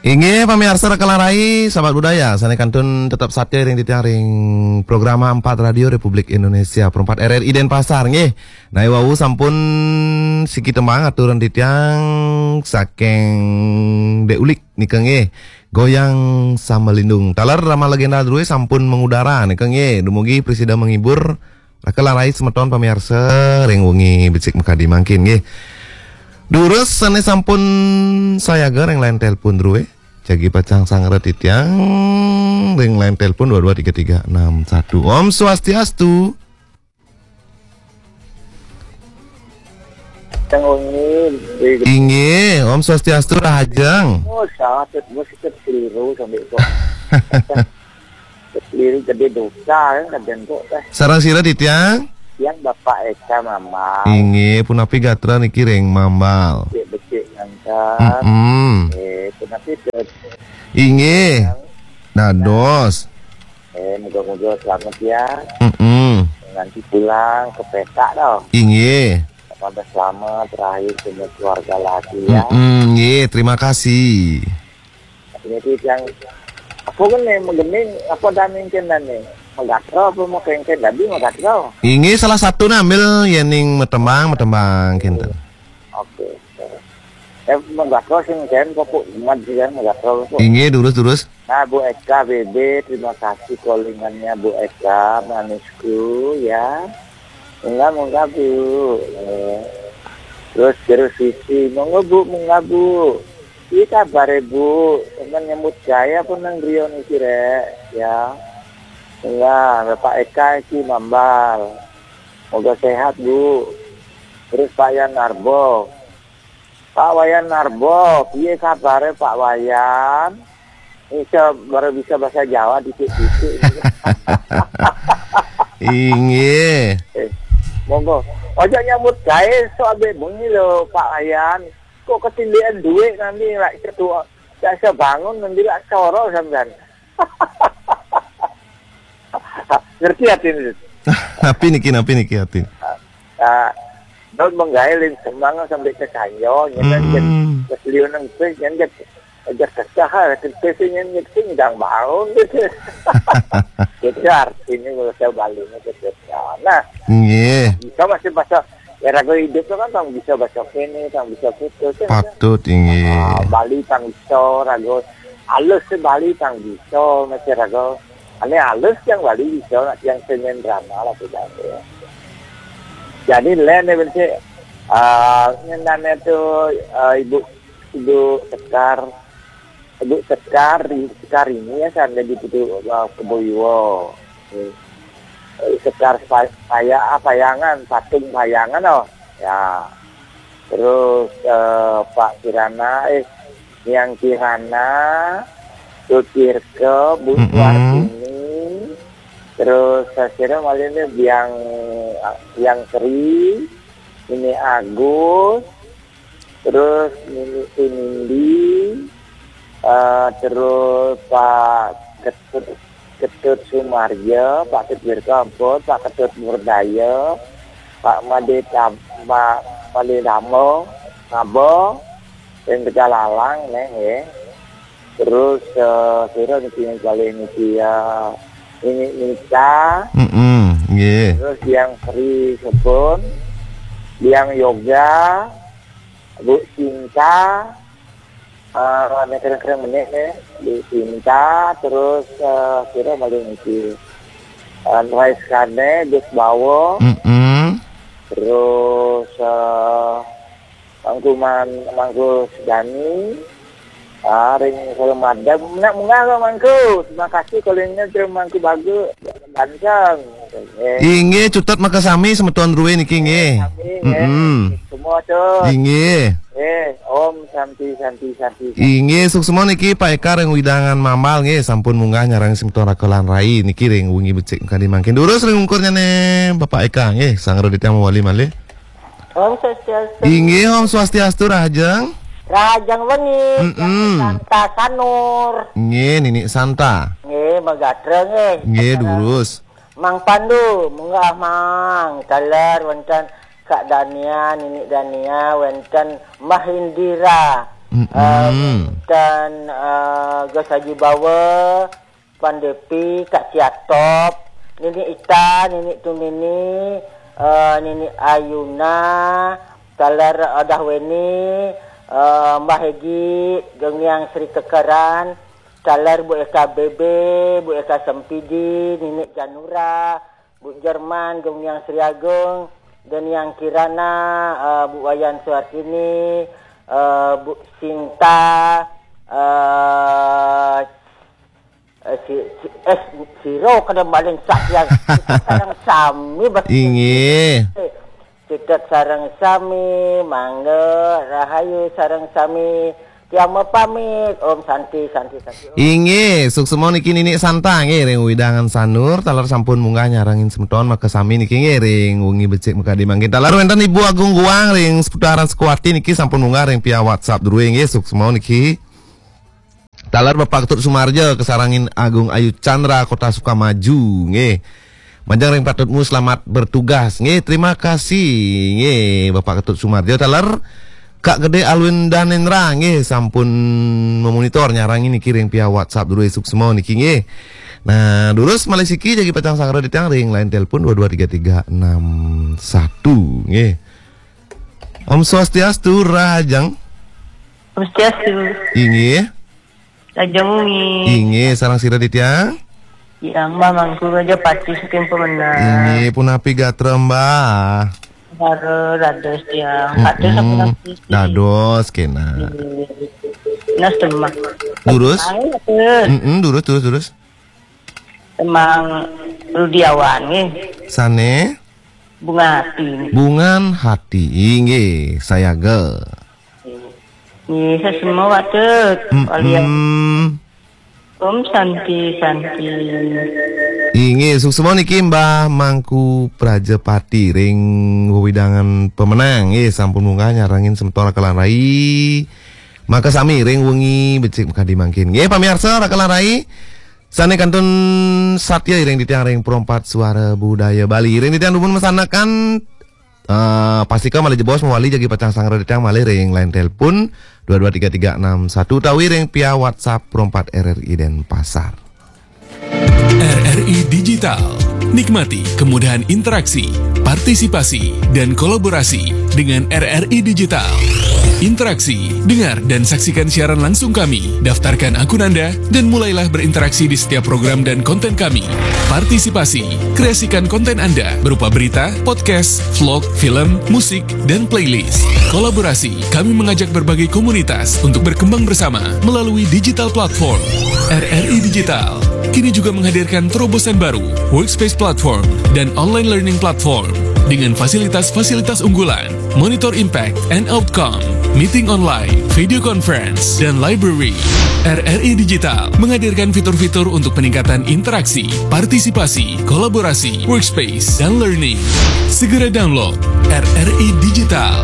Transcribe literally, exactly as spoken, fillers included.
Inggih pamiarsa Raka lan Rai, sahabat budaya, sané kantun tetep satia ring titiang ring programa empat Radio Republik Indonesia, Pro empat R R I Denpasar, nggih. Nah, wau sampun siki tembang aturan titiang saking Dek Ulik nika, nggih. Goyang Sambalindung. Taler Rama Legenda Drué sampun mengudara nika, nggih. Dumugi prasida menghibur Raka lan Rai semeton pamiarsa ring wengi becik makadi mangkin, nggih. Durus sané sampun sayaga ring line telepon Drué. Jagi pacang sangra titiang ring line telepon dua dua tiga tiga enam satu. Om Swastiastu. Yang wengi di Inggih, Om Swastiastu, rahajeng. Oh, salah, terus kita keliru sampai kok. Keliru gede dosa kan kadang kok teh. Sareng sira titiang? Yang Bapak Eka Mambal. Inggih, punapi gatra niki ring Mambal? Becik-becik ngangkat. Mm-mm. Eh, punapi ke Inggih. Dados. Eh, moga-moga selamat ya. Mm-mm. Nanti pulang ke peta dong. Inggih. Pada selamat terakhir semua keluarga lagi ya. Mm-mm, nggih, terima kasih. Ini tuh yang apa kan nih megening apa dan mungkin dan nih megatro apa mau kengken tadi megatro. Inggih salah satu ambil yening metembang metembang kinten. Oke. Eh megatro sing ken kok kok umat sih kan megatro kok. Inggih durus durus. Nah Bu Eka B B terima kasih callingannya Bu Eka manisku ya. Enggak menggabung. Eh. Terus terus sisi monggo Bu menggabung. Iki kabare Bu, sampeyan nyambut gawe apa nang griya niki rek? Ya. Enggak, Bapak Eka iki Mambal. Moga sehat Bu. Terus Pak Yan Narbo. Pak Wayan Narbo, piye kabare Pak Wayan? Bisa baru bisa bahasa Jawa dikit-dikit. Inggih. Eh, monggo. Ojo nyambut gawe sok ambek bengi lho Pak Wayan. Kok ketindihan duit nanti lak setua. Gak bisa bangun nanti lak soro sampean. Ngerti hati ini? Napi niki, napi niki hati? Ah, daun menggawe lin semang sampai ke kanyo, nyen kan jen Hmm. keseliu nang pis, nyen jen aja kesah, lah, ke pis nyen nyen sing dang bangun gitu. Gitu artinya kalau saya balik itu. Nah, Nggih. Bisa masih bahasa ya ragu hidup tu kan tang bisa baca kene, tang bisa putus kan. Patut inggih. Ah, Bali tang bisa ragu halus si Bali tang bisa masih ragu. Ane halus yang Bali bisa nak yang senen drama lah tidak ya. Jadi lain ni benci ah ngenane tu ah, ibu ibu Sekar ibu Sekar Sekar ini ya sana di Putu uh, Keboiwo. Eh, Sekar Paya ah, Payangan, patung Payangan oh. Ya. Terus eh, Pak Kirana, eh Yang Kirana, Tutirke, Bu Mm-mm. Suartini, terus saya kira malah ini Biang Yang Sri, ini Agus, terus Nini Sinindi, eh, terus Pak Ketut Ketut Sumarja, Pak Ketut Kampot, Pak Ketut Murdaya, Pak Made Tam- Pak Made Damo, Ngabo, yang Tegalalang nih ya. Terus eh, kira niki yang paling niki ya ini Nita, Mm-mm, nggih. Terus yang Sri Sebun, yang Yoga, Bu Cinta, eh, nek keren-keren menit nih, Bu Cinta, terus eh, kira paling niki eh, Rais Kane, Gus Bawo, Mm-mm. Terus eh, Mangku Man, Mangku Sedani, ah, ring kalau madam, nak munggah lo Mangku. Terima kasih kalau ini terima Mangku bagus, ganteng. Eh, Inggih, cutet makasami semeton Rue niki nggih. Kami, eh, Mm-mm. Semua tu. Inggih. Eh, Om Santi Santi Santi. Inggih, suksma niki Pak Eka ring wewidangan Mambal nggih, sampun munggah nyarengin semeton Raka lan Rai niki ring wengi becik kadi mangkin. Durus ring ungkurnyane Bapak Eka nggih, Sang Raditya mawali malih. Om Swastiastu. Inggih, Om Swastiastu, rahajeng. Rahajeng wengi, Mm-mm. Santa Sanur. Nggih, Nini Santa. Nggih, megatra nggih. Nggih, durus. Mang Pandu, munggah Mang. Taler wonten Kak Dania, Nini Dania, wonten Mbah Indira. Mm-mm. Eh, dan eh, Gus Haji Bawa, Pan Depi, Kak Ciatop, Nini Ita, Nini Tunini, eh, Nini Ayuna, taler Odah Weni, eh, Mbah Hegi, Gengiang Sri Kekeran, taler Bu Eka Bebe, Bu Eka Sempidi, Nini Janura, Bu Jerman, Gengiang Sri Agung, Gengiang Kirana, eh, Bu Wayan Suartini, eh, Bu Sinta, eh, eh, si, si, eh, siro kada maling sak yang sareng sami betul. Inggih. Cedek sareng sami, mangga rahayu sareng sami. Tiang mapamit. Om Santi, Santi, Santi. Om. Inggih, suksma niki Nini Santa nggih ring wewidangan Sanur, taler sampun munggah nyarengin semeton makasami niki nggih ring wengi becik makadi mangkin. Taler wenten Ibu Agung Guang ring seputaran Sekuati niki sampun munggah ring via WhatsApp druwe nggih, suksma niki. Taler Bapak Ketut Sumarja kasarengin Agung Ayu Chandra Kota Sukamaju nggih. Majeng ring patutmu selamat bertugas. Nggih, terima kasih. Nggih, Bapak Ketut Sumarjo taler Kak Gede Alwin Danendra nggih sampun memonitor nyarengin niki ring via WhatsApp druwe suksma niki nggih. Nah, durus malih siki jagi pacang sanggra titiang ring line telepon dua dua tiga tiga enam satu nggih. Om Swastiastu, Rahajeng. Swastiastu. Inggih. Rahajeng wengi. Inggih, sareng sira titiang? Yang Mbah Mangku Raja Pati saking Pemenang. Inggih, punapi gatra Mbah? Haro dados tiang. Kados sampun. Dados kena. Inggih. Nah, Semak. Durus? Ayo, Kados. Mm-mm, durus, durus, durus. Emang Rudiawan nggih. Sane? Bunga Hati. Bungan Hati, inggih, sayaga. Nggih, sesema Pak Tut. Mm-mm. Kalian. Om Santi, Santi. Inggih, suksma niki Mbah Mangku Prajapati ring wewidangan Pemenang. Nggih, sampun munggah nyarengin semeton Rakalan Rai. Makasami ring wengi becik makadi mangkin. Nggih, pamirsa Rakalan Rai. Sane kantun satia iring titiang ring Perompat Suara Budaya Bali. Iring titiang dumun masanekan, eh, pastika malih jebos mawali jagi pacang sanggra titiang malih ring line telepon dua dua tiga tiga enam satu utawi ring via WhatsApp Perompat R R I Denpasar. R R I Digital. Nikmati kemudahan interaksi, partisipasi, dan kolaborasi dengan R R I Digital. Interaksi, dengar dan saksikan siaran langsung kami. Daftarkan akun Anda dan mulailah berinteraksi di setiap program dan konten kami. Partisipasi, kreasikan konten Anda berupa berita, podcast, vlog, film, musik, dan playlist. Kolaborasi, kami mengajak berbagai komunitas untuk berkembang bersama melalui digital platform. R R I Digital kini juga menghadirkan terobosan baru, Workspace Platform dan Online Learning Platform dengan fasilitas-fasilitas unggulan, monitor impact and outcome, meeting online, video conference, dan library. R R I Digital menghadirkan fitur-fitur untuk peningkatan interaksi, partisipasi, kolaborasi, workspace, dan learning. Segera download R R I Digital.